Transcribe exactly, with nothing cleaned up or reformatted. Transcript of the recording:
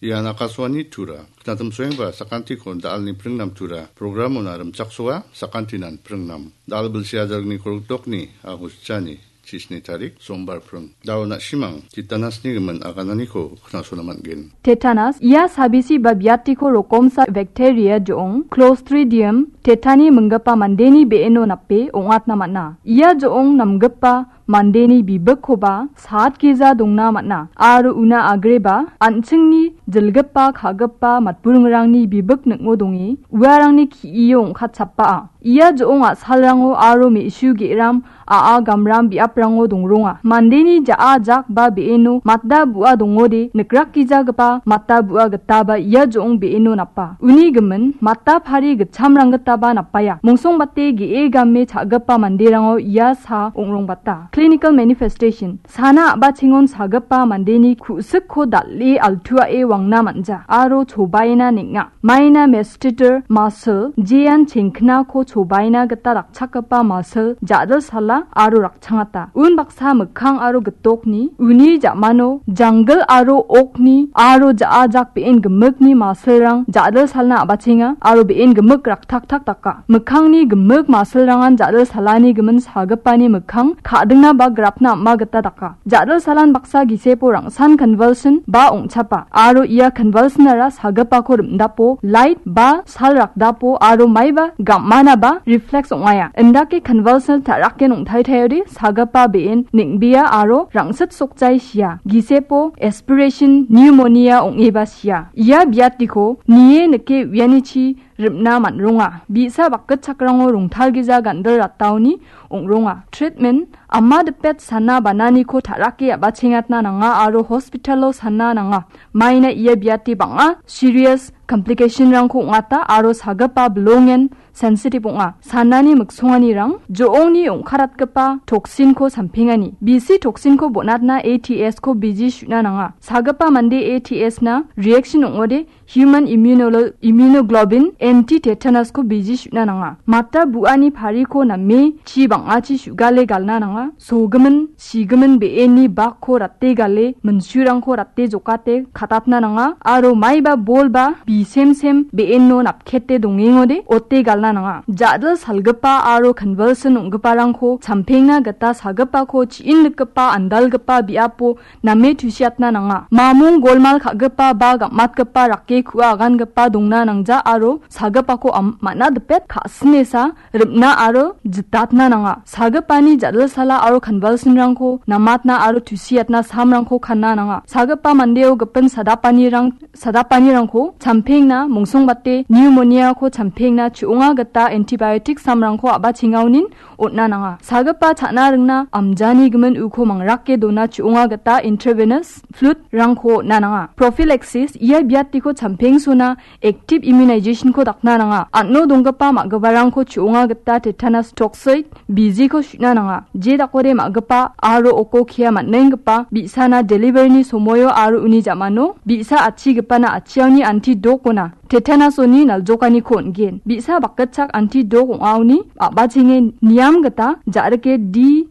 Ian Akashvani Tura. Knatim soengba sakantiko da·alni pringnam Tura. Programona rimchaksoa sakantinan pringnam. Da·al bilsi ajargni korokdokni agusjani chisni tarik, sombar pring. Dao na·simang tetanusni gimin agananiko knasona man·gen. Tetanus, ia sabisi ba biatiko rokomsa bacteria jo·ong, Clostridium tetani minggipa mandeni be·eno nape ong·atna man·a. Ia jo·ong namgipa mandeni bibikkoba satgija dongna man·a. Aro una agreba an·chingni jilgipa ka·gipa matburingrangni bibik ning·o donge, uarangni ki·io ong·katchapaa. Ia jo·ong a·salrango aro me·su ge·ram a·a gamram biaprango dongronga. Mandeni ja·a jak ba be·eno matda bu·a dongode nikrakgijagipa matda bu·a gitaba ia jo·ong be·eno napa. Uni gimin matda pari gitchamrang gitaba napaia. Mongsongbate ge·e game cha·gipa manderango ia sa ong·rongbata. Clinical manifestation. Sana a·bachengon sagipa mandeni ku·sikko dal·e altuae wangna man·ja aro chobaina neng·a. Maina masseter muscle, jean chengknako chobaina gita rakchakgipa muscle, ja·dilsala aro rakchangata. Unbaksa mikkang aro gitokni, uni ja·mano janggil aro okni aro ja·a jak be·en gimikni musclerang ja·dilsalna a·bachenga aro be·en gimik raktaktak daka. Mikkangni gimik musclerangan ja·dilsalani gimin sagipani mikkang ka·dingna ba grapna am·a gita daka. Ja·dilsalan baksa gisepo rangsan convulsion ba ong·chapa aro ia convulsionara sagipako rim·dapo, light ba sal rakdapo aro maiba gam·mana ba reflex ong·aia. Indake convulsion ta·raken ong·taitaiode sagipa be·en neng·bea aro rangsit sokjai sia. Gisepo aspiration pneumonia ong·eba sia. Ia biatiko nie nike uianichi rim·na man·ronga. Bi·sa bakgitchakrango rongtalgija gandil rataoni ong·ronga. Treatment, ama dipet sana bananiko ta·rake a·bachengatna nanga aro hospitalo sana nanga. Maina ia biate bang·a serious complicationrangko ong·ata aro sagipa bilongen sensitive ong·a. Sanani miksonganirang jo·ongni ong·karatgipa toxinko sampengani. Bisi toxinko bonatna A T S ko biji su·na nanga. Sagipa mande A T S na reaction ong·ode human immunolo-, immunoglobulin anti-tetanusko biji su·na nanga. Mata bu·ani pariko name chi bang·achi su·gale galna nanga. Sogimin, sigimin be·eni bakko rate gale, minsurangko rate jokate katatna nanga. Aro maiba bol ba bisemsem be·eno napkete dongengode ote galna nanga. Ja·dil salgipa aro convulsion ong·giparangko champengna gita sagipako chi·inlikgipa andalgipa biapo name tusiatna nanga. Mamung golmal ka·gipa ba gam·atgipa rake ku·a agangipa dongna nangja aro sagipako am-, man·a dipet ka·sinesa rim·na aro jitatna nanga. Sagipani ja·dilsala aro convulsionrangko namatna aro tusiatna samrangko kanna nanga. Sagipa mandeo gipin sadapanirang-, sadapanirangko champengna, mongsongbate pneumoniako champengna chu·onga gita antibiotic samrangko a·bachengaonin on·na nanga. Sagipa cha·na ringna amjani gimin uko mangrake dona chu·onga gita intravenous fluid-rangko on·na nanga. Prophylaxis, ia biatiko champengsona active immunizationko dakna nanga. An·o donggipa ma·giparangko chu·onga gita tetanus toxoid bijiko su·na nanga. Je dakode ma·gipa aro oko kia man·enggipa bi·sana deliveryni somoio aro uni ja·mano bi·sa atchigipana atchiaoni anti dokona tetanusoni naljokaniko on·gen. Bi·sa bakgitchak anti dok ong·aoni a·bachenge niam gita ja·rike D